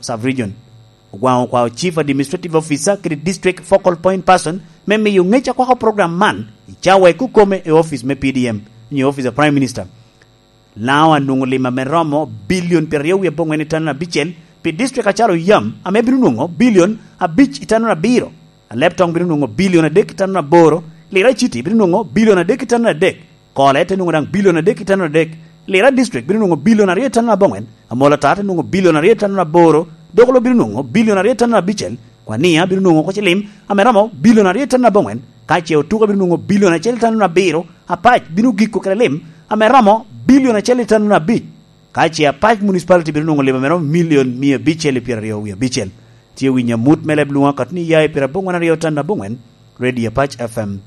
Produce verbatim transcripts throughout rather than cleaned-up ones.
Sub-Region. Ogwaŋ okwao Chief Administrative Officer kede District Focal Point Person me miyo ŋec akwako program man i cawa i kukome i office me P D M, nyo office of Prime Minister. Laŋo anwoŋo lim ame romo bilion pyeraryo wie aboŋwen i tanura abicel pi district acalo yam, ame bino nwoŋo bilion abic i tanura abiro. Alebtong bino nwoŋo bilion adek i tanura aboro. Lira City bino nwoŋo bilion adek i tanura adek. Kole te nwoŋo daŋ bilion adek i tanura adek. Lira District bino nwoŋo bilion aryo i tanura aboŋwen. Amolo Ata te nwoŋo bilion aryo i tanura aboro. Dokolo bino nwoŋo bilion aryo i tanura abicel. Kwania bino nwoŋo oko cilim ame romo bilion aryo i tanura aboŋwen. Ka ce Otuke bino nwoŋo bilion acel i tanura abiro. Apac bino giko kede lim ame romo bilion acel i tanura abic. Ka ce Apac Municipality bino nwoŋo lim ame romo milion mia abicel i pyeraryo wie abicel. Tye winyo amut me leb lwoŋo akato ni ya i pyeraboŋwen aryo tan aboŋwen, Radio Apac F M.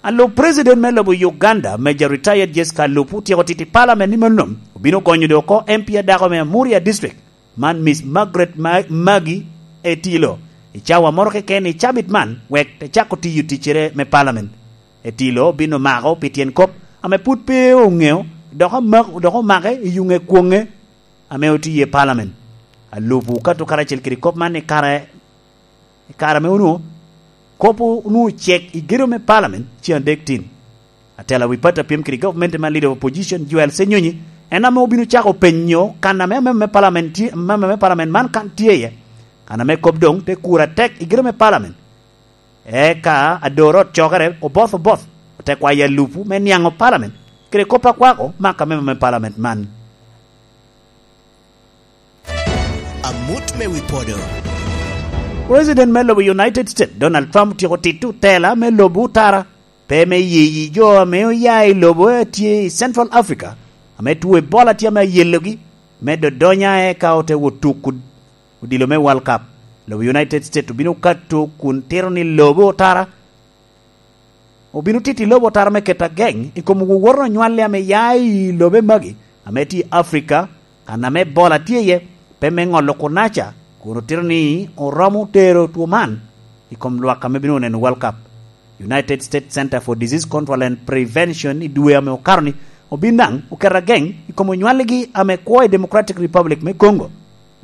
Alub President me lobo Uganda, Major Retired Jessica Alupo, otyeko tit i Parliament ni mano obino gonyo doŋ oko M P adako me Amuria District, man Miss Margaret Ma-, Magi Etilo, i cawa moro keken i cabit man, wek te cako tiyo ticcere me Parliament. Etilo obino mako pi tyen kop ame pud pe oŋeo, dok amak-, dok omake i yuŋe kwoŋe ame otye i Parliament. Alupo okato karacel kede kop man i kare, i kare ame onwoŋo kop onwoŋo ocek i gedo me Parliament ceŋ adek tin. Atela wi pati a pyem kede gavumenti man, Leader of Opposition, Joel Ssenyonyi, en ame obino cako penyo kan ame amemo me Parliament tye, amemo me Parliament man kan tye iye. Kan ame kop doŋ te kur atek i gedo me Parliament. Eka ador ot cokere oboth oboth, ote kwayo Alupo me niaŋo Parliament kede kop a kwako maka me, me Parliament man. Amut me wi podo. President me lobo United States, Donald Trump, otyeko tito tela me lobo otara, pe me yiyi jo ame oya i lobo a tye i Central Africa, ame two Ebola tye ame ayelogi, me dodonya eka ote wot tuko odilo me World Cup. Lobo United States obino kato kun tito ni lobo otara, obino tito i lobo otara me keto ageŋ i kom wowoto onywale ame ya i lobe magi ame tye i Africa, kan ame Ebola tye iye, pe me ŋolo kunaca, kun otito ni oromo tero two man i kom lwak ame bino neno World Cup. United States Center for Disease Control and Prevention i dwe ame okato ni obin daŋ oketo ageŋ i kom onywaligi ame kwo i Democratic Republic me Congo,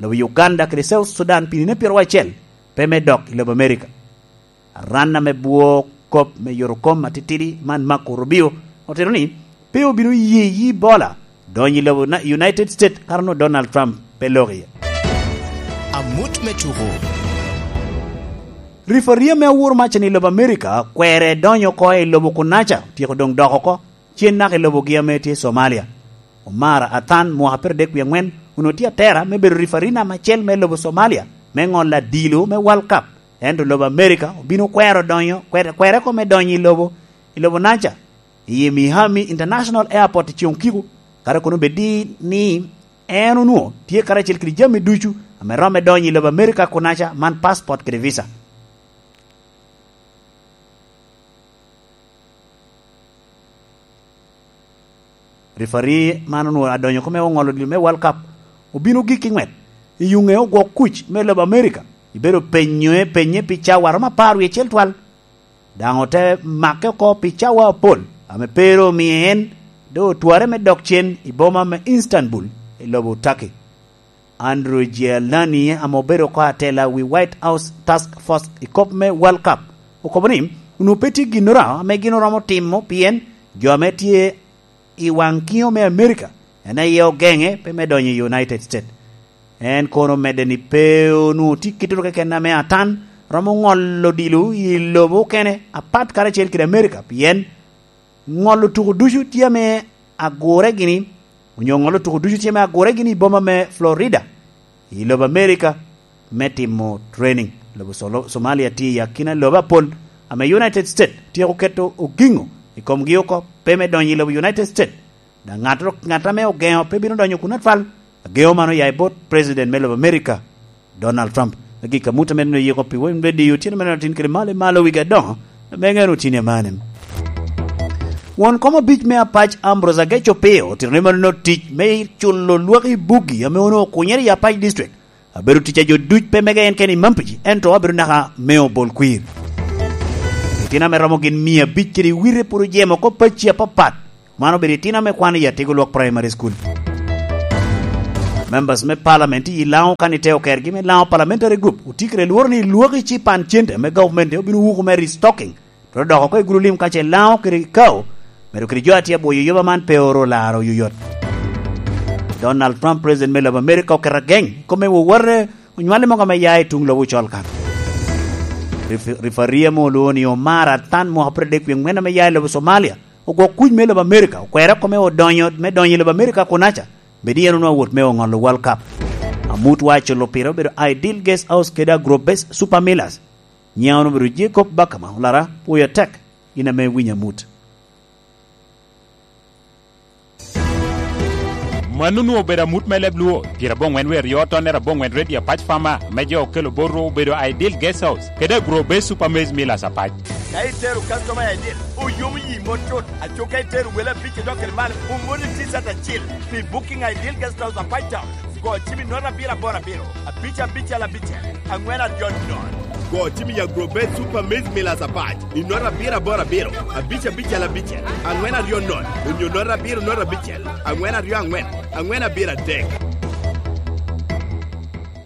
lobo Uganda kede South Sudan pi nino pyeraryo acel pe me dok i lobo Amerika. Aran ame bwo kop me yotokom atitidi man, Marco Rubio, otito ni pe obino ye yi Ebola donyo i lobo na United States kara onwoŋo Donald Trump pe lok iye. Amut me tuko. Rifari ame awor macen i lobo Amerika kwere donyo oko i lobo kunaca, otyeko doŋ dok oko cen naka i lobogi ame tye Somalia. Omar Athan, mwaka pyeradek wie aŋwen, onwoŋo tye atera me bedo rifari namba acel me lobo Somalia me ŋolo adilo me World Cup. Ento lobo Amerika obino kwero donyo, kwere, kwere oko me donyo i lobo, i lobo naca, i Miami International Airport i Ciuŋ Kiko, kara kono bed ni en onwoŋo tye karacel kede jami ducu ame romo me donyo i lobo Amerika kunaca, man passport kede visa. Rifari man onwoŋo adonyo oko me oŋolo odilo me World Cup, obino gik i ŋwet i yuŋe ogwok kuc me lobo Amerika. Ibedo penyoe penye pi cawa romo apar wie acel twal. Daŋ ote make oko pi cawa apol, ame pe ru omio en doŋ otwarre me dok cen i boma me Istanbul, i lobo Turkey. Andrew Giuliani, ame obedo oko atela wi White House Task Force i kop me World Cup, okobo ni onwoŋo pe tye ginnoro ame gin oromo timo, pien jo ame tye i waŋ kiŋo me Amerika en aye ogeŋe pe me donyo i United States. En kono omedde ni pe onwoŋo tye kite keken ame atan romo ŋolo odilo i lobo okene apat karacel kede Amerika, pien ŋolo tuko ducu tye ame agure gini, onyo ŋolo tuko ducu tye ame agure gini i boma me Florida, i lobo Amerika, me timo training. Lobo Solo-, Somalia tye i akina lobo apol ame United States tyeko keto ogiŋo i komgi oko, pe me donyo i lobo United States. Daŋ ŋattoro ŋat ame ogeŋo pe bino donyo kun atwal. Ageŋo man oya i bot President me lobo Amerika, Donald Trump. Agik amut ame neno yiko pi wem radio otyeno me nino tin kede malo i malo wigi adoŋo, ame ŋen otyeni amane. Won kom abic me Apac Ambrose Ageco Pio otito ni mano tic me culo lwak i buggi ame onwoŋo okunyere i Apac District. Abedo tic a jo duc pe mege en kene i Mampiji, ento abedo naka me obol kwir. Itino ame romo gin mia abic kede wite pwod ojemo oko pacci apapat. Man obedo itino ame kwano i Atego Lwak Primary School. Members me Parliament i Laŋo kan iteo kergi me Laŋo Parliamentary Group otye kede lworo ni lwaki ci pan cente me government obino wuko me restocking, twero dok oko i gulu lim ka ce Laŋo kede Kao, medo kede jo a tye abwoyo yoba man pe oro laro oyoyot. Donald Trump, President me lobo America, oketo ageny i kome wowore onywale mogo ame ya i tuŋ lobo ocol kan. Rif-, Rifaria mo olwongo ni Omar Atan mwaka pire dek wie ŋwen ame ya i lobo Somalia, ogwok kuc me lobo America, okwero kome odonyo me donyo i lobo America kunaca, bed yen onwoŋo wot me oŋolo World Cup. Amut wa aculo pire obedo Ideal Guest House kede Agrobase Super Millers. Nyiŋa wun obedo Jacob Bakama, olara, pwoyo atek, in ame winyo amut. Mano onwoŋo obedo amut me leb Luo, pyerabongwen wie aryo tonnere abongwen redio Apac Farmer, me jo okelo botwu obedo Ideal Guest House, kede Agro Base Super Maize Millers Apac. Ka itero customer Ideal, oyomo yi mot tut. Aco ka itero wele abic idok kede malo, omoni T-shirt acil pi Booking Ideal Guest House Apac Town. Go cim i note abiro aboro abiro, abic abicel abicel, aŋwen aryo nono. Go cim i Agrobet Super Maize Millers Apac i note abiro aboro abiro, abic abicel abicel, aŋwen aryo nono, onyo note abiro note abicel, aŋwen aryo aŋwen, aŋwen abiro adek.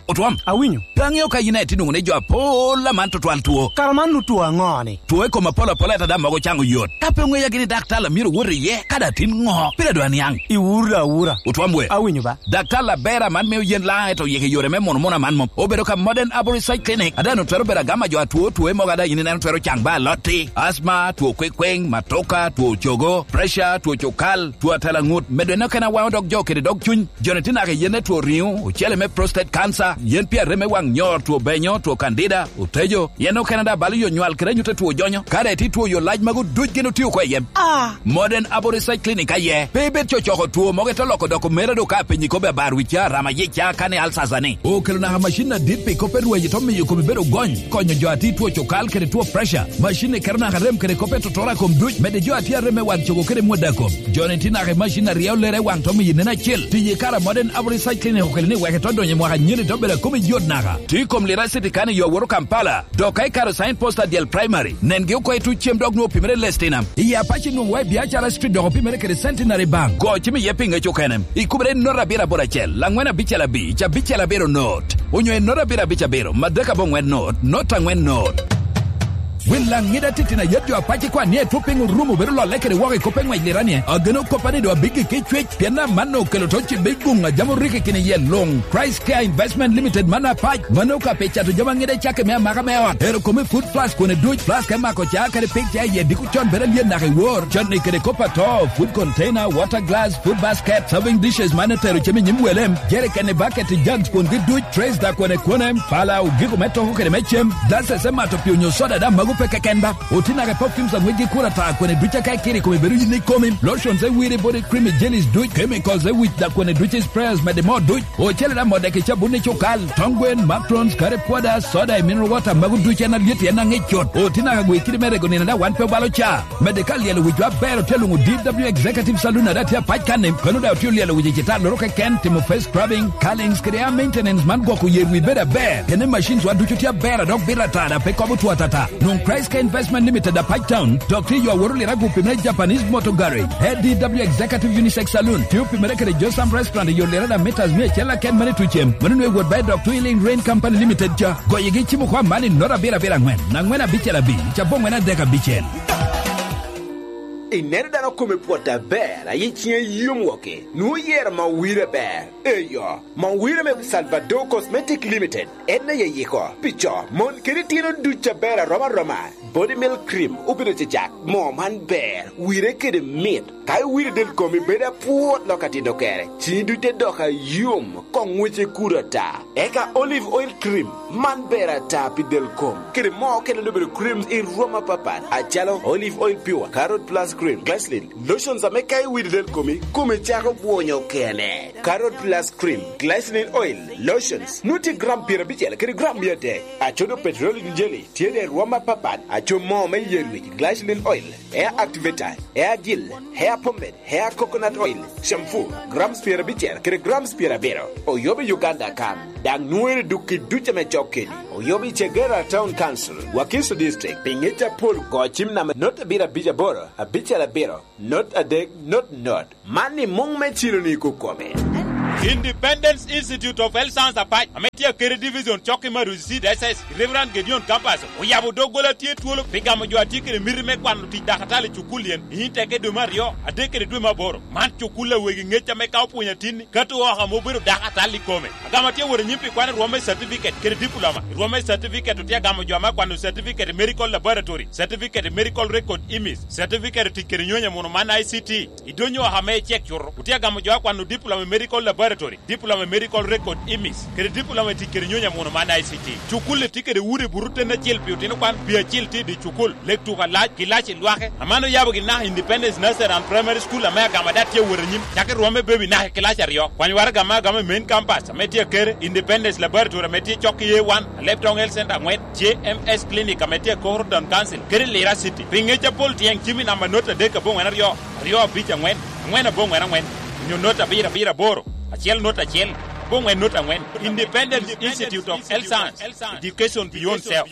Otwom. Awinyo. Pe aŋeo ka yin aye tye nwoŋo ni jo apol aman tutwal two. Kara man nu two aŋo-ni? Two i kom apol apol ata daŋ mogo caŋo yot. Ka pe oŋeya gini daktar a myero owot iye, ka daŋ tin ŋo? Pire dwa niaŋ. Iwuro awura. Otwom we. Awinyo ba. Daktar aber aman mio yen laŋ eto yik i yore me mono mono aman mom. Obedo ka Modern Arborist Side Clinic. Ada nu twero bedo agama jo atwo two mogo ada yin ineno twero caŋ ba alotti. Asma, two kwekweŋ, matoka, two cogo, pressure, two cukal, two atela ŋut. Medo eno kena waŋo dog jo kede dog cuny. Joni tye naka i yen me two riŋo, ocele me prostate cancer, yen pi arem me waŋ nyor, two benyo, two candida, otejo, yen okene daŋ balo yo nywal kede anyut a two jonyo. Ka daŋ itye two yo lac magu duc gin otio oko i yem. Ah! Modern Abo Research Clinic aye. Pe ibed cocoko two mogo ite loko doko mere do ka apenyi kobbe abar wica, rama yica, kani alsasa ni. Okelo naka macin adit pi kop pe rweyo to miyo komi bedo gony, konyo jo a tye two cukal kede two pressure. Macin ni keto naka rem kede kop pe totora kom duc, mede jo a tye arem me waŋ cogo kede mwada kom. Joni tye naka i macin aryo lere waŋ to miyo nen acel. Tiyo i kare a Modern Abo Research Clinic okelo ni wek ito donyo i mwaka nyeni to bedo a komi yot naka. Tye i kom lira city kan i yo woro Kampala. Dok ka ikaro sign post adyel primary, nengi oko i tuc cem dok nwoŋo opimere lestinam. I Apac inwoŋo wa i Biacara Street dok opimere kede Centenary Bank. Go cim iye pi ŋec okene. Ikubere i note abiro aboro acel, laŋwen abicel abic, abicel abiro note. Onyo i note abiro abic abiro, madek abongwen note, note angwen note. Wil laŋ ŋida titino ayet jo Apac ikwan ni etwo piny orumo bedo lolle kede woko i kop eŋwec lirani. Ageno koppa ni do abiggi ki cwec, pien aman okelo to ci big guŋ a jam oriki kini yel luŋ. Christ Care Investment Limited man Apac, mano ka pi cato jami aŋide cakke me amaka me ot. Ero kome food flask kone duc, flask me mako ca kede pig ca iye diko con bere alyen naka i wor. Cotni kede kop ato, food container, water glass, food basket, serving dishes man etero cem i nyim welem, jerikeni, baketi, jugs kwongi duc, trays da kone kone, pala, ogiko me toko kede me cem, glasses me mato pi onyo soda da magu pe keken ba. Oti naka i perfumes aŋwec gi kura ta kone duc aka ikiri kome bedo yin ikomi, lotions e wiri body cream i jellies duc, chemicals e wic da kone duc i sprayers mede mo duc. Ocele da modde ki cabun i cukal, tong gwen, macarons, curry powder, soda i mineral water, magu duc en alyet en aŋic cut. Oti naka gwe kidi me rego nino da wan pe obalo ca. Mede ka lyelo wicwa aber otye luŋo D W Executive Saloon ada tye apac kanni, kano da otye lyelo wic i citar loro keken, timo face scrubbing, curlings kede hair maintenance man gwoko yer wi bedo aber. Kene machines wa ducu tye aber a dok bit atada pe kobo two atata. Nwoŋ Christ Care Investment Limited Apac Town, dok tye yo aworo lirago pi me Japanese Motor Garage, A D W Executive Unisex Saloon, tye opimere kede Josam Restaurant i yo lirada meters mia acel aken mane tucem, mano nwe wot ba i dok Twilling Rain Company Limited ca. Goyigi cimo kwa man i nota abiro abiro angwen, angwen abicel abic, cabo angwen adek abicel. Ineno dano kome pwot aber, ayi ciŋe yom woke, nwoŋo yero ma wire ber. Eyo, ma wire me Salvador Cosmetic Limited, en aye yiko, pi co, mon kede tino duc aber aroma aroma. Body Milk Cream obedo cecak. Moo man ber, wire kede mit. Ka iwiro del komi bedo apwot lok atino kere, cii duc te dok ayom, koŋ ŋwece kuro ata. Eka Olive Oil Cream, man ber ata pi del kom. Kede moo okene obedo creams i rwom apapat, acalo Olive Oil Pure, Carrot Plus Cream, Glycerin, lotions ame ka iwiro del komi, komi cako bwonyo kene. Carrot Plus Cream, Glycerin Oil, lotions, nwoŋo tye gram pyerabicel kede gram mia adek. Acodo Petroleum Jelly, tye de rwom apapat, aco moo me yer wic, glycerin oil, hair activator, hair gel, hair pomade, hair coconut oil, shampoo, grams pyerabicel kede grams pyerabiro. Oyobo i Uganda kan, daŋ nwoŋere duk i duc ame cok keni. Oyobo i Chegera Town Council, Wakiso District, pi ŋec apol go cim namba not abiro abic aboro, abicel abiro, not adek, not not. Man i muŋ me cilo ni kokome. Independence Institute of Health Science Apac, ame tye Akere Division, cok i Maruzi Seed S S, i Reverend Gedeon Campus, oyabo doggola tye twolo pi gamo jo a tye kede miti me kwano tic dakatali i cukul yen, i Inteke dwe me aryo, adek kede dwe me aboro. Man cukul a wegi ŋec ame ka opwonyo atinni, kato oko ame obedo dakatali i kome. Agamo atye wot anyim pi kwano rwom me certificate kede diploma. Rwom me certificate otye agamo jo ame akwano certificate i medical laboratory, certificate i medical record image, certificate i tic kede nyonyo muno man I C T. I donyo oko ame icek cuto, otye agamo jo akwano diploma i medical laboratory, diploma i medical record image, kede diploma i tic kede nyonyo muno man I C T. Cukul-li tye kede udi buto ten acel pi otino kwan, pi acil tye i dye cukul, lek tuko alac, gilac i lwake. Aman oyabo gin naka Independence Nursery and Primary School ame agamo ada tye awot anyim, cakki rwom me baby naka i kilac aryo. Kwany waraga ame agamo i main campus ame tye Akere, Independence Laboratory ame tye cok i A one, Alebtong Health Center angwen, J M S Clinic ame tye i Koro Town Council, kede Lira City. Pi ŋec apol tyeng cim i namba not adek aboŋwen aryo, aryo abic angwen, angwen aboŋwen angwen, onyo not abiro abiro aboro, acel not acel, aboŋwen not angwen. Independence Institute of Health Science, Education Beyond Self.